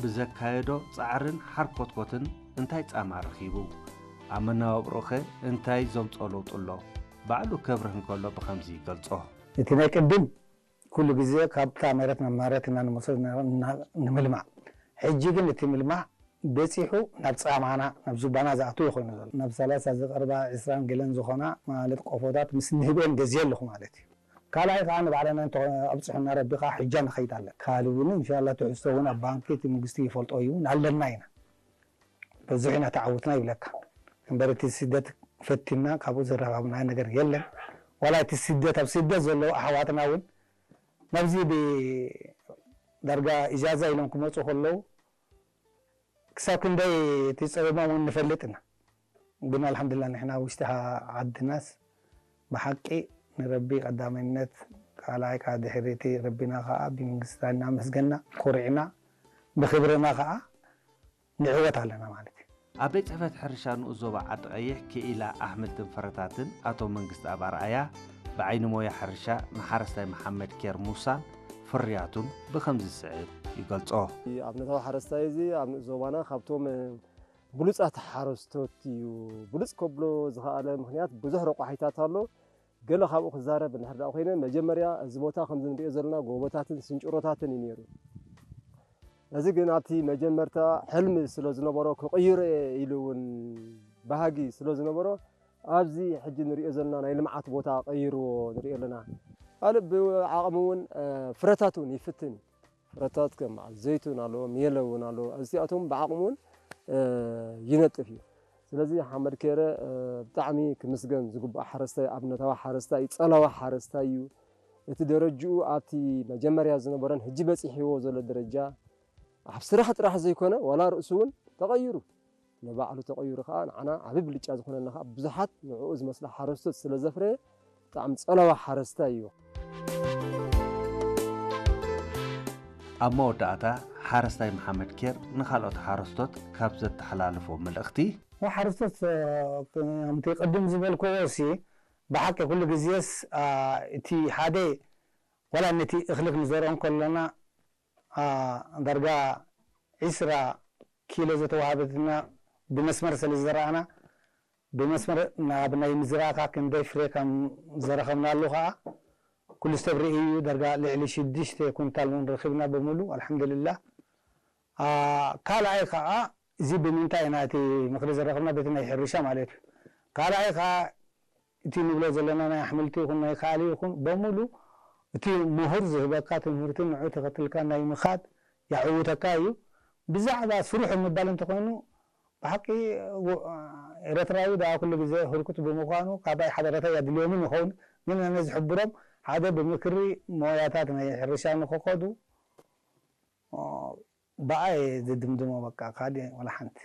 ብዘካየዶ ጻዕርን ሓርኮትኮትን እንታይ ጻማ ረኺቡ? ኣብ መነባብሮኸ እንታይ ዘምጾ ለውጢ ኣሎ? ባዕሉ ከብርህ እንከሎ ብኸምዚ ይገልጾ። እቲ ናይ ቅድም ኩሉ ግዜ ካብታ መሬት ናብ መሬት ኢና ንመሶ እና-፣ እና-፣ ንምልማዕ። ሕጂ ግን እቲ ምልማዕ በጺሑ ናብ ጻማና፣ ናብ ዙባና ዝኣቱ እዩ ኮይኑ ዘሎ። ናብ ሰላሳ ዝቐርባ ዕስራን ገለን ዝኾና ማለት ቆፎታት ምስ ንህበን ገዝየ ኣለኹ ማለት እዩ። ካልኣይ ከዓ ንባዕልና እንተ ኣብጽሑና ረቢ ከዓ ሕጃ ንኸይድ ኣለና። ካልእ እውን እንሻላ ትሕዝቶ እውን ኣብ ባንኪ እቲ መንግስቲ ይፈልጦ እዩ፣ ኣለና ኢና። ብዙሕ ኢና ተዓውትና ይብለካ። እምበር እቲ ስደት ፈቲና ካብኡ ዝረኸብና ነገር የለን። ዋላ እቲ ስደት፣ ኣብ ስደት ዘለዉ ኣሕዋትና እውን ናብዚ ብ-፣ ዳርጋ ኢጃዛ ኢሎም ክመጹ ከለዉ ክሳብ ክንደይ እቲ ጸገሞም እውን ንፈልጥ ኢና። ግን ኣልሓምዱሊላህ ንሕና ውሽጢ ሃ-፣ ዓድናስ ብሓቂ ንረቢ ቀዳማይነት፣ ካልኣይ ከዓ ድሕሪ እቲ ረቢና ከዓ ብመንግስትና እናመስገና፣ ኮሪዕና፣ ብክብርና ከዓ ንዕወት ኣለና ማለት እዩ። ኣብ ቤት ጽሕፈት ሕርሻ ንኡስ ዞባ ዓዲ ቀይሕ ክኢላ ኣሕምልትን ፍረታትን ኣቶ መንግስቲ ኣብ ኣርኣያ ብዓይኒ ሞያ ሕርሻ ንሓረስታይ መሓመድ ኬር ሙሳን ፍርያቱን ብኸምዚ ዝስዕብ ይገልጾ። ኣብነታዊ ሓረስታይ እዚ ኣብ ንኡስ ዞባና ካብቶም ብሉጻት ሓረስቶት እዩ። ብሉጽ ከብሎ ዝኸኣለ ምኽንያት ብዙሕ ረቋሒታት ኣሎ። ገለ ካብኡ ክዛረብ እንድሕር ደኣ ኮይነ፣ መጀመርያ እዚ ቦታ ከምዚ ንሪኦ ዘለና ጎቦታትን ስንጭሮታትን እዩ ነይሩ። እዚ ግን ኣብቲ መጀመርታ ሕልሚ ስለ ዝነበሮ፣ ክቕይሮ እየ ኢሉ እውን ባህጊ ስለ ዝነበሮ፣ ኣብዚ ሕጂ ንሪኦ ዘለና ናይ ልምዓት ቦታ ቀይርዎ ንሪኦ ኣለና። ካልእ ብዓቕሚ እውን፣ እ፣ ፍረታት እውን ይፍትን እዩ። ፍረታት ከም በዓል ዘይቱን ኣሎ፣ ሜሎ እውን ኣሎ። እዚኣቶም ብዓቕሙ እውን፣ እ፣ ይነጥፍ እዩ። ስለዚ ሓመድ ኬረ፣ እ፣ ብጣዕሚ ክምስገን ዝግባእ ሓረስታይ፣ ኣብነታዊ ሓረስታይ፣ ጸላዊ ሓረስታይ እዩ። እቲ ደረጅኡ ኣብቲ መጀመርያ ዝነበረን ሕጂ በጺሕዎ ዘሎ ደረጃ፣ ኣብ ስራሕ ጥራሕ ዘይኮነ፣ ዋላ ርእሱ እውን ተቐይሩ። ንባዕሉ ተቐይሩ ከኣ ንዓና ዓቢ ብልጫ ዝኾነና ከኣ ብዙሓት ንዕኡ ዝመስላ ሓረስቶት ስለ ዘፍረየ ብጣዕሚ ጸላዊ ሓረስታይ እዩ። ኣብ መወዳእታ ሓረስታይ መሓመድ ኬር ንኻልኦት ሓረስቶት ካብ ዘተሓላለፎ መልእኽቲ፣ ንሓረስቶት፣ እ፣ ከምቲ ቅድም ዝበልክዎ ሲ ብሓቂ ኩሉ ግዜስ፣ አ፣ እቲ ሓደ ዋላ ነቲ እኽሊ ክንዘርኦ እንከሎና፣ አ፣ ዳርጋ ዒስራ ኪሎ ዘተዋሃበትና ብመስመር ስለ ዝዘራእና፣ ብመስመር ናብ ናይ ምዝራእካ ክንደይ ፍሬ ከም ዘረኸብናሉ ከኣ ኩሉ ሰብ ርእዩ እዩ። ዳርጋ ልዕሊ ሽዱሽተ ኩንታል እውን ረኺብና ብምሉ፣ ኣልሓምዱሊላህ። አ፣ ካልኣይ ከኣ እዚ ብምንታይ ኢና እቲ ምኽሪ ዘረኸብና? በቲ ናይ ሕርሻ ማለት እዩ። ካልኣይ ከኣ እቲ ንብሎ ዘለና ናይ ኣሕምልቲ ይኹን ናይ ካልእ ይኹን በሙሉ እቲ ምሁር ዝህበካ ትምህርቲ ንዑ ተኸትልካ ናይ ምኻድ የዕውተካ እዩ። ብዛዕባ ስሩሑ ምባል እንተኾይኑ ብሓቂ ው-፣ ኤርትራዊ ደኣ ኩሉ ግዜ ህርኩት ብምዃኑ ካባይ ሓበሬታ የድልዮምን ይኸውን። ግን ኣነ ዝሕብሮም ሓደ ብምክሪ ሞያታት ናይ ሕርሻ ንኽኸዱ፣ ኦ፣ ብኣይ ዝድምድሞ በቃ ካልእ ወላ ሓንቲ።